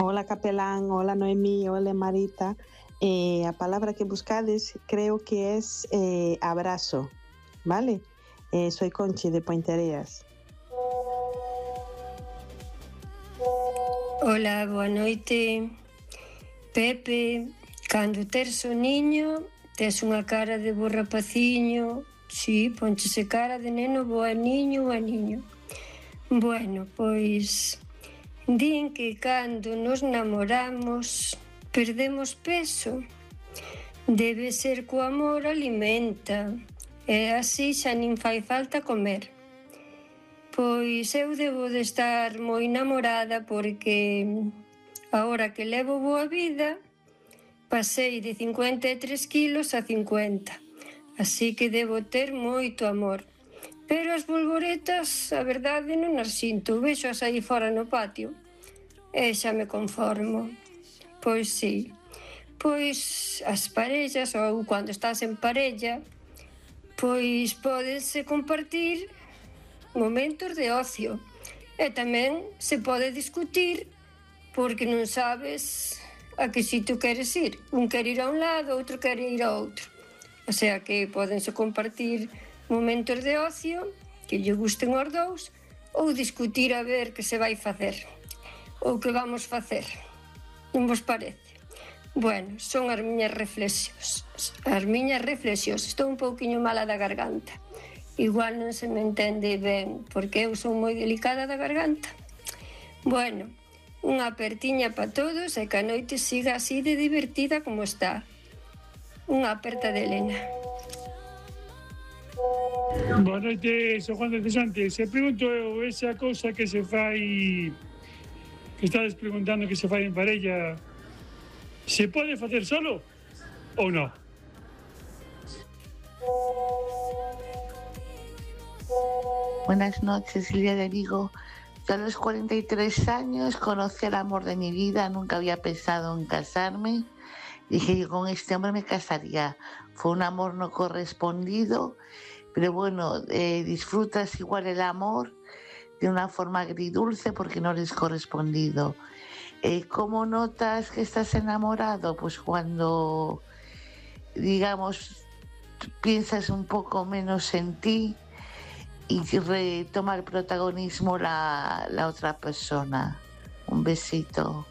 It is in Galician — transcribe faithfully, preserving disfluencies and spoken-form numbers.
Hola Capelán, hola Noemí, hola Marita. Eh, a palabra que buscades creo que es eh, abrazo, ¿vale? Eh, soy Conchi de Pointereas. Hola, boa noite. Pepe, cando tes o niño, tes unha cara de bo rapaciño, si, ponchese cara de neno, boa niño, boa niño. Bueno, pois, din que cando nos namoramos perdemos peso. Debe ser co amor alimenta, e así xa nin fai falta comer. Pois eu debo de estar moi namorada porque agora que levo boa vida pasei de cincuenta e tres kilos a cincuenta, así que debo ter moito amor. Pero as bolboretas, a verdade, non as sinto, vexo-as aí fora no patio e xa me conformo. Pois sí, pois as parellas, ou cando estás en parella, pois podes compartir momentos de ocio e tamén se pode discutir porque non sabes a que sitio queres ir. Un quere ir a un lado, outro quere ir a outro. O sea que podense compartir momentos de ocio que lle gusten aos dous ou discutir a ver que se vai facer ou que vamos facer. Non vos parece? Bueno, son as miñas reflexións. As miñas reflexións. Estou un pouquiño mala da garganta. Igual non se me entende ben, porque eu son moi delicada da garganta. Bueno, unha apertiña para todos e que a noite siga así de divertida como está. Unha aperta de Elena. Boa noite, sou Juan de Cesante. Se pregunto eu, esa cousa que se fai, que estades preguntando que se fai en parella, se pode facer solo ou non? Buenas noches, Silvia de Vigo. Yo a los cuarenta y tres años conocí el amor de mi vida, nunca había pensado en casarme. Dije que con este hombre me casaría. Fue un amor no correspondido, pero bueno, eh, disfrutas igual el amor de una forma agridulce porque no eres correspondido. Eh, ¿Cómo notas que estás enamorado? Pues cuando, digamos, piensas un poco menos en ti y retoma el protagonismo la, la otra persona. Un besito.